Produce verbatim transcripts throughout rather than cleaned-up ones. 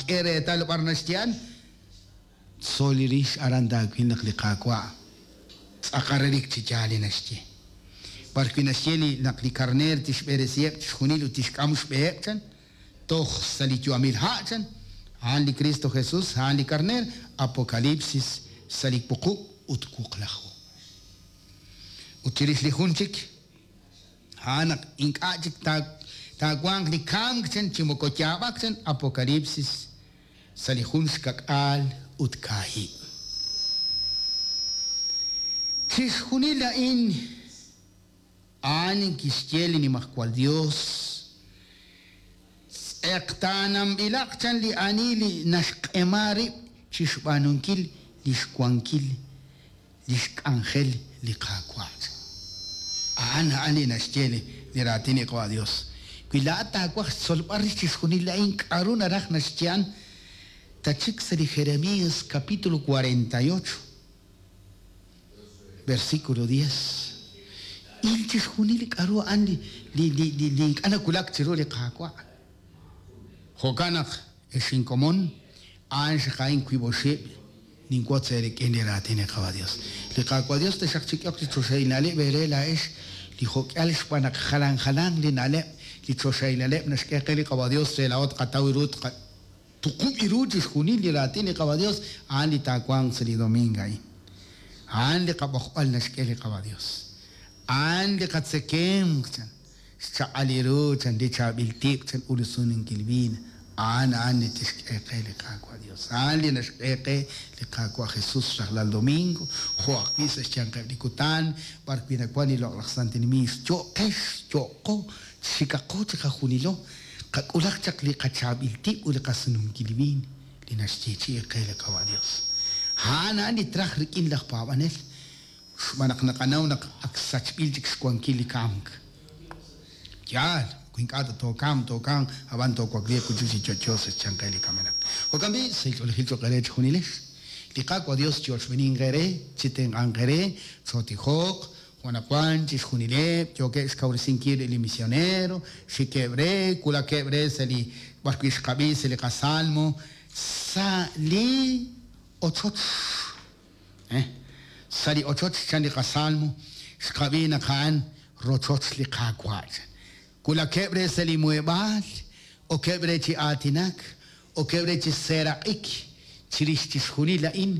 Taak'e reetal b'ar naxye a'an. Tzol li rix aran taawil naq li Qaawa' tz'aqal relik chi yaal li naxye. B'ar wi' naxye li naq li karneer tixb'eresiheb' chixjunil ut tixk'am xb'eheb' chan, toj sa' li yu'amil ha' chan, a'an li Cristo Jesús, a'an li karneer, Apocalipsis sa' li wuqub' ut wuqlaju. Ut chirix li jun chik, a'an naq ink'a' chik taawanq li kamk chan chi moko yaab'ak chan, Apocalipsis sa' li jun xkak'aal ut kaahib'. Chixjunil a'in a'an kixye li Nimajwal Dios, tz'eqtaananb'ilaq chan li ani li naxq'ema rib' chixb'aanunkil li xwankil li xk'anjel li Qaawa'. A'an a'an li naxye li li raatin li Qaawa' Dios. Wi laa'at taawaj xtzolb'al rix chixjunil a'in k'a'ru naraj naxye a'an, tachik sa' li Jeremías capítulo cuarenta y ocho, versículo diez. Il chixjunil li k'a'ru a'an li li li li li ink'a' nawulak chiru li Qaawa'. Jo'kan naq ex inkomon, a'an xaqa'in wiib' oxib' ninwotz eerik'in li raatin li Qaawa' Dios. Li Qaawa' Dios taxaq chik'ehoq li choxahil na'leb' eere laa'ex li jo'k'ihal xb'aan naq jalan jalan li na'leb' li choxahil na'leb' naxk'e qe li Qaawa' Dios re laa'o tqataw ru tuqub' ru chixjunil li raatin li Qaawa' Dios a'an li taawanq sa' li domingo a'in. A'an li qab'oqb'al naxk'e li Qaawa' Dios. A'an li qatzekemq chan, xchaq'al li ru chan, li chaab'il tib' chan, ulusununkil viin. A'an a'an li tixk'e qe li Qaawa' Dios. A'an li naxk'e qe li Qaawa' Jesús rajlal domingo, jo' ajwi' sa' xyanqeb' li kutan, b'ar wi' nawan li loq'laj santil miix. Yo'qex, yo'qo, xikaqo chiqajunilo, qak'ulaq chaq li qachaab'il tib' ut li qasununkil viin li naxyeechi'i qe li Qaawa' Dios. A'an a'an li traj rik'in laj paab'anel, xb'aan naq naqanaw naq ak sachb'il chik xwankil li kamk. Yaal, ink'a' tookamq, tookamq, ab'an toowakliiq wi' chik chi yo'yo sa' xyanqeb' li kamenaq. Jo'kan b'i' sa' xch'oolejil cho'q eere chixjunilex. Li Qaawa' Dios chi'ochb'eninq eere, chitenq'anq eere, chootijoq, jo'naqwan chixjunileb' yookeb' xkawresinkil li misionero, xikeb' re, wulakeb' re sa' li b'ar wi' xqab'i sa' li qasalmo, sa' li ochoch. Eh? Sa' li ochoch chan li qasalmo, xqab'i naq a'an rochoch li Qaawa'. Wulakeb' re sa' li muheb'aal, okeb' re chi aatinak, okeb' re chi seeraq'ik, chirix chixjunil a'in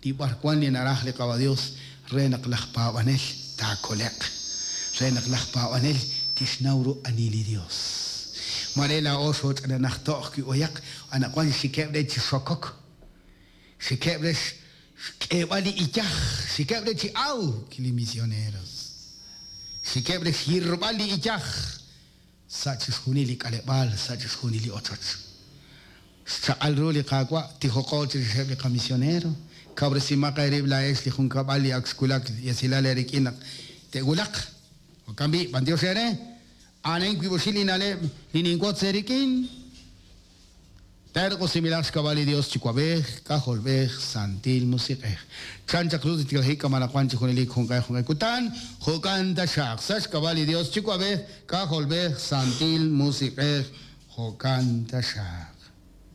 li b'arwan li naraj li Qaawa' Dios re naq laj paab'anel taakoleq, re naq laj paab'anel tixnaw ru ani li Dios. Mare laa'o xooch'ananaj to'j wi' oyaq, anaqwan xikeb' re chi xokok, xikeb' re xk'eeb'al li iyaj, xikeb' re chi awk li misioneros, xikeb' re xyirb'al li iyaj sa' chixjunil li k'aleb'aal, sa' chixjunil li ochoch. Xchaq'al ru li Qaawa' tijoqo chirixeb' li qamisionero, kawresimaq eerib' laa'ex li junkab'al li ak xwulak li esilal eerik'in naq te'wulaq. Jo'kan b'i', b'antiox eere, a'an wiib' oxib' li na'leb' li ninwotz eerik'in. Terq'usimilaq xk'ab'a' li Dios chiwab'ej, k'ajolb'ej, santil musiq'ej. Chan chaq ru tiklajik k'amalaqwan chi junelik junq'e junq'e kutan, jo'kan taxaq sa' xk'ab'a' li Dios chiwab'ej, k'ajolb'ej, santil musiq'ej, jo'kan taxaq.